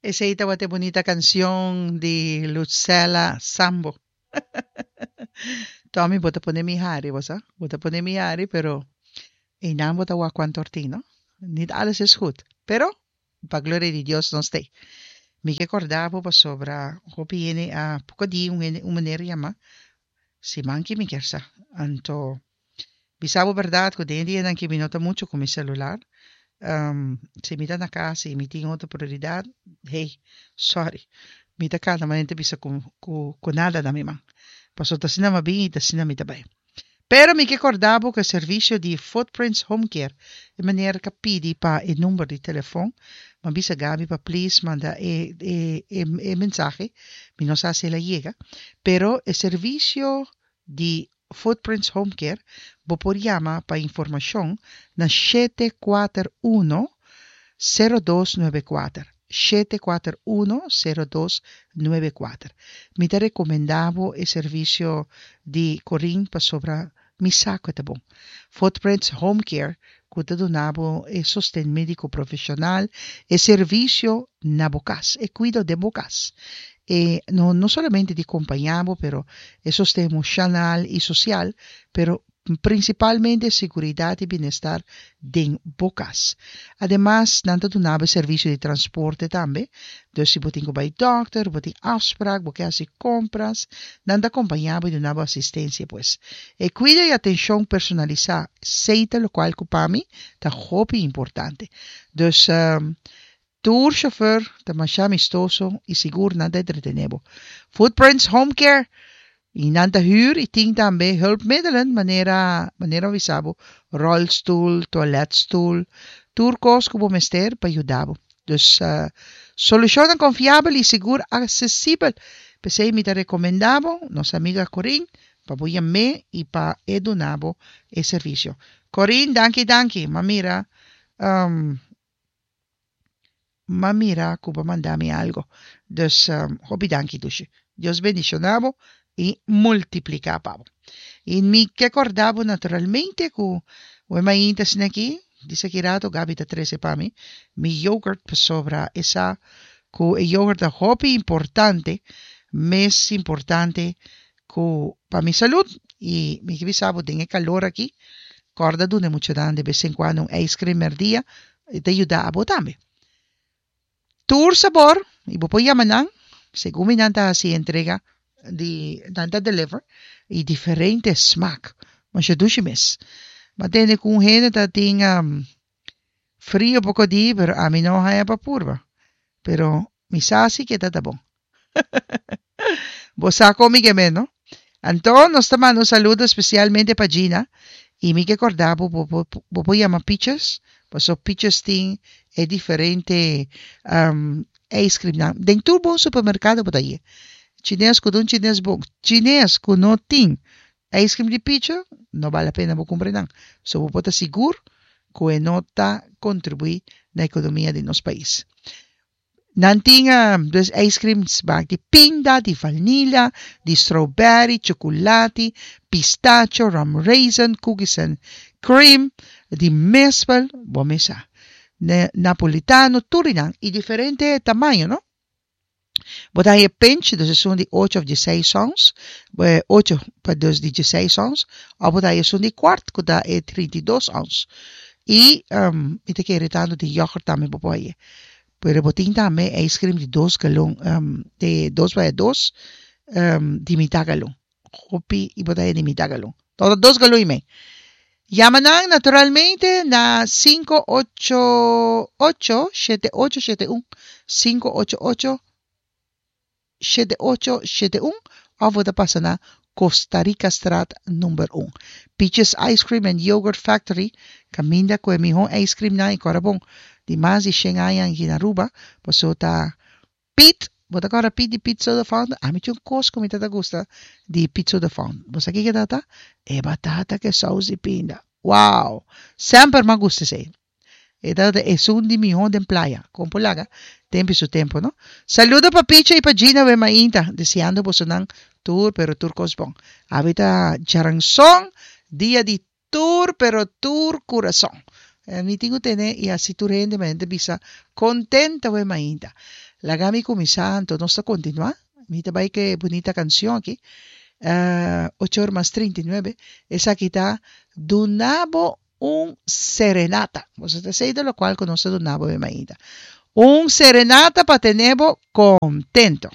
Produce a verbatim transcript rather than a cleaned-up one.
Esei tabata bunita kansion di Lucella Sambo. Tommy, bo ta pone mi hari, bo sa? Bo ta pone mi hari, pero einan bo ta wak kuantu or tin, no? Niet alles is goed. Pero, pa gloria di Dios nos t'ei. Mi ke kòrda bo pasobra hopi hende a poko di un hende un meneer yama siman ki mi kier sa. Anto bisa bo bèrdat ku den e dianan ki mi no ta muchu ku mi selular. Um, si mi ta na kas i mi tin otro prioridat, hey, sorry. Mi ta kana manera ta bisa ku ku ku nada na mi man. Pasobra ta asina mi a bin i ta asina mi ta bai. Pero mi ke kòrda bo ku e servisio di Footprints Home Care, e meneer ka pidi pa e number di telefon. Mi a bisa Gaby pa please manda e e e e mensahe. Mi no sa si el a yega. Pero e servisio di Footprints Home Care, bo por yama pa informashon na shete kuater uno, sero dos nuebe kuater, shete kuater uno, sero dos nuebe kuater. Mi ta rekomendá bo e servisio di Corinne pasobra mi sa ku e ta bon. Footprints Home Care ku ta duna bo e sosten médiko profeshonal, e servisio na bo kas, e kuido den bo kas. E no no solamente di kompañá bo, pero e sosten emoshonal i sosial, pero prinsipalmente seguridat i bienestar den bo kas. Ademas nan ta duna bo e servisio di transporte tambe, dus si bo tin ku bai dòkter, bo tin afsprak, bo ke hasi kompras, nan ta kompañá bo i duna bo asistensia pues. E kuido i atenshon personalisá, esei ta lokual ku pa mi ta hopi importante. Dus tur shofùr ta masha amistoso i sigur nan ta entretené bo. Footprints Home Care i nan ta hür i tin tambe hulpmiddelen manera manera mi bisa bo rolstoel, toiletstoel, tur kos ku bo mester pa yuda bo. Dus solushonnan konfiabel i sigur aksesibel. P'esei mi ta rekomendá bo nos amiga Corinne pa bo yam'é i pa e duna bo e servisio. Corinne, danki danki. M'a mira m'a mira ku bo a manda mi algo. Dus hopi danki dushi. Dios bendishoná bo i multipliká pa bo. I mi ke kòrda bo naturalmente ku wen mainta asina aki, disa ki rato Gaby ta trese pa mi mi yoghurt pasobra e sa ku e yoghurt ta hopi importante, mes importante ku pa mi salud. I mi ke bisa bo den e kalor aki, kòrda duna e muchanan de bes en kuando un ijscream mèrdia, e ta yuda abo tambe. Tur sabor, i bo por yama nan, segun mi nan ta hasi entrega di nan ta deliver, i diferente smaak. Masha dushi mes. Mi a tende ku un hende ta tin frio poko di, pero ami no haña pa purba. Pero mi sa si ke ta ta bon. Bo sa kon mi ke men, no? Anto nos ta manda un saludo especialmente pa Gina i mi ke korda bo bo bo bo por yama Peaches paso Peaches tin e diferente ijscreamnan den tur bon supermercado bo ta haye. Chines ku ta un chines bon chines ku no tin ijscream di Peaches no bal la pena bo kumpra nan so bo por ta sigur ku e no ta kontribuí na ekonomia di nos pais. Nan tin dus ijscream smaak di pinda, di vanilla, di strawberry, chocolati, pistacho, rum raisin, cookies and cream, di mespel, bo mes sa, napolitano, tur di nan y diferente tamaño no. Bo ta haña pinch, dus esun di ocho of dieseis ons, ocho pa dus di dieseis ons, of bo ta haña esun di kwart ku ta e trinta i dos ons. I mi ta kere tantu di yoghurt tambe bo por haña. Pero bo tin tambe ijscream di dos galon, di dos baya dos, di mitá galon. Hopi i bo ta haña di mitá galon. Todo dos galon i mei. Yama nan naturalmente na sinku ocho ocho shete ocho shete un, sinku ocho ocho shete ocho shete un, òf bo ta pasa na Costa Rica Straat number un. Peaches Ice Cream and Yogurt Factory, kaminda ku e mihó ijscreamnan i kòrda bon di mas di shen aña aki na Aruba, paso ta Pete, bo ta kòrda Pete di Pete Soda Fountain? Ami tin un kos ku mi ta ta gusta di Pete Soda Fountain. Bo sa kiko ta ta? E batata ku e sous di pinda. Wow! Semper m'a gusta esei. E tabata esun di mihó den playa. Kon por laga tempu i su tempu, no? Saludo pa Picha i pa Gina we mainta, deseando bosonan tur pero tur kos bon. Awe ta djaranson, dia di tur pero tur kurason. Mi tin ku tene i hasi tur hende manera ta bisa kontento we mainta. Laga mi kuminsá, anto nos ta kontinuá. Mi ta bai ku e bunita kanshon aki. Uh, ocho or mas trinta i nuebe. Esaki ta Duna bo un serenata. Boso ta esei ta lokual ku nos ta duna bo e mainta. Un serenata pa tene bo kontento.